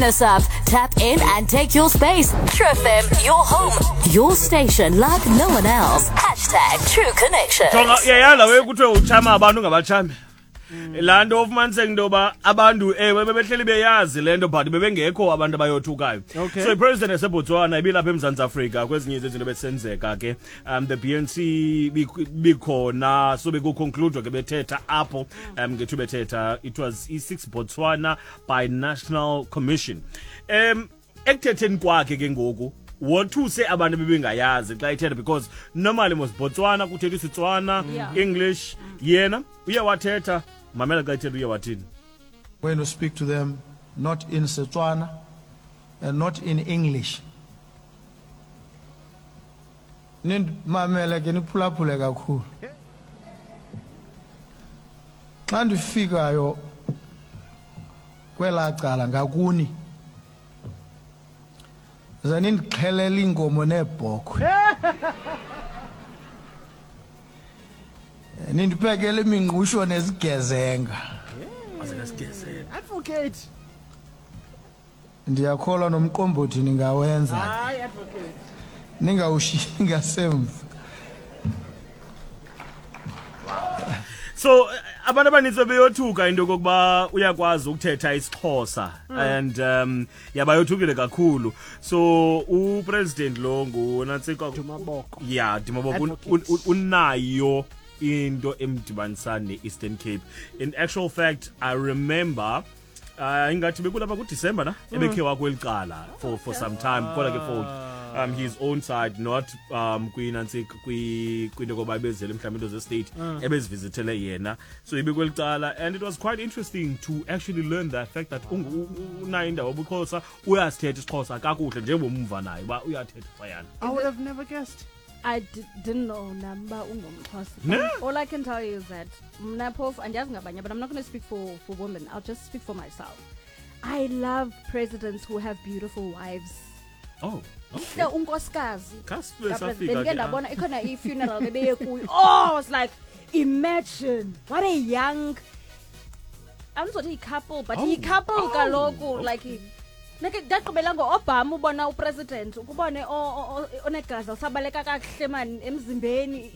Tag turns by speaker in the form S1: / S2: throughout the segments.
S1: Us up, tap in and take your space. True FM, your home, your station like no one else. Hashtag True Connections.
S2: Jonga uyayala we kuthiwe uchama abantu ngabachami. Laa nto ufumaniseka into yoba abantu ewe bebehleli beyazi le nto but bebengekho abantu abayothukayo. So ipresident yaseBotswana ibilapha eMzantsi Afrika kwezinye zezinto besenzeka ke the BNC bikhona so bekuconcludwa ke bethetha apho ngethu bethetha it was i-6 Botswana by National Commission. Ekuthetheni kwakhe ke ngoku wothuse abantu bebengayazi xa ethetha because normally mos Botswana kuthetha isiTswana, English, yena uye wathetha, mamela xa ethetha uye wathini.
S3: Going to speak to them not in Setswana and not in English. Nindimamele ke niphulaphule kakhulu. Xa ndifikayo kwelaa cala ngakuni, ze nindixhelele iinkomo neebhokhwe. Nindiphekele imingqusho nezigezenga.
S4: Advocate.
S3: Ndiyakholwa nomqombothi ningawenza.
S4: Hayi, advocate.
S3: Ningawushiyi ngasemva.
S2: So abantu abanintsi beyothuka into yokokuba uyakwazi ukuthetha isiXhosa and yabayothukile kakhulu. So upresident lo ngunantsika
S4: Dumaboko.
S2: Yeah, Dumaboko
S4: Advocate.
S2: unayo into emdibanisa ne-Eastern Cape. In actual fact, I remember ingathi bekulapha kuDisemba na ebekhe wakweli cala for some time kodwa ke for his own side, not kwinansi kwinto koba ebezele mhlawumbi into ze-state ebezivizithele yena, so ibekweli cala and it was quite interesting to actually learn the fact that unayo indawo yobuXhosa, uyasithetha isiXhosa kakuhle njengomva naye uba uyathetha phayana.
S4: I would have never guessed.
S5: I didn't know namba ungumXhosa.
S2: Ne?
S5: All I can tell you is that mna phofu andiyazi ngabanye, but I'm not going to speak for women. I'll just speak for myself. I love presidents who have beautiful wives.
S2: Oh, okay.
S5: Mhle unkosikazi.
S2: Khasibe
S5: Kapresident.
S2: safika
S5: Bendike
S2: ke, ah.
S5: ndabona ikhona i-funeral bebeye kuyo. Oh, I was like, imagine what a young, andizothi yi-couple, but
S2: Oh.
S5: yi-couple
S2: Oh,
S5: kaloku,
S2: okay.
S5: like nake ndagqibela ngo-Obama ubona upresident ukubone onegazi lisabaleka kakuhle man emzimbeni.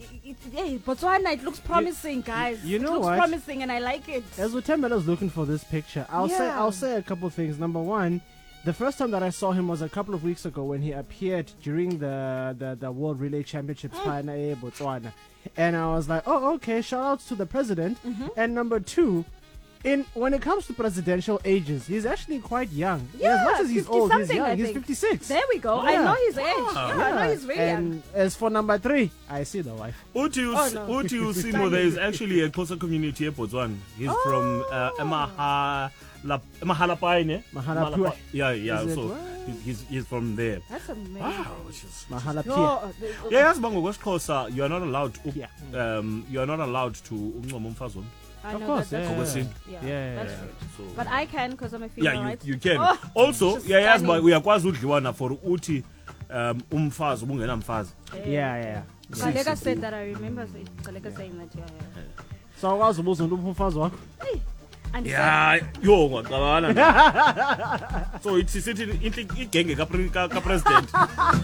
S5: Hey, Botswana, it looks promising, guys.
S4: You
S5: It
S4: know
S5: looks
S4: what?
S5: promising and I like it.
S4: As Uthembele is looking for this picture, I'll say a couple of things. Number one, the first time that I saw him was a couple of weeks ago when he appeared during the World Relay Championships mm. Botswana. And I was like, oh, okay, shout outs to the president. And number two, when it comes to presidential ages, he's actually quite young.
S5: Yeah,
S4: as much as he's old, he's
S5: 50-something,
S4: young.
S5: I
S4: He's
S5: think.
S4: 56.
S5: There we go. I
S4: Yeah.
S5: know his age. Yeah, I know he's very young.
S4: And as for number three, I see the wife.
S2: Uthi
S5: Oh, no.
S2: uthi uSimo, there is actually a Xhosa community eBotswana. He's from Mahalapye.
S4: Mahalapye.
S2: Yeah, yeah.
S4: Is it
S2: So
S4: what?
S2: he's from there.
S5: That's amazing.
S2: Wow, which is
S4: Mahalapye.
S5: Yo,
S2: Yeah, yazi uba ngokwesiXhosa you are not allowed to,
S4: Yeah.
S2: you are not allowed to uncoma umfazi womntu.
S5: I
S4: Of
S5: know
S4: course,
S5: that, that's
S4: yeah.
S5: rude.
S2: NgokwesiNtu.
S5: Yeah,
S4: Yeah.
S5: that's rude.
S2: So
S5: But I can because I'm a female,
S2: yeah, you,
S5: right?
S2: you can.
S5: Oh,
S2: Also,
S5: just
S2: uyayazi uba
S5: stunning.
S2: uyakwazi udliwana for uthi umfazi ubungenamfazi.
S4: Yeah, yeah.
S5: Gcaleka said that. I remember Gcaleka saying that. Yeah, yeah.
S4: So awukwazi ubuza umntu uphi umfazi wakho?
S5: And
S2: Yeah, yo ungaqabana. So ithi sithi igenge ka president.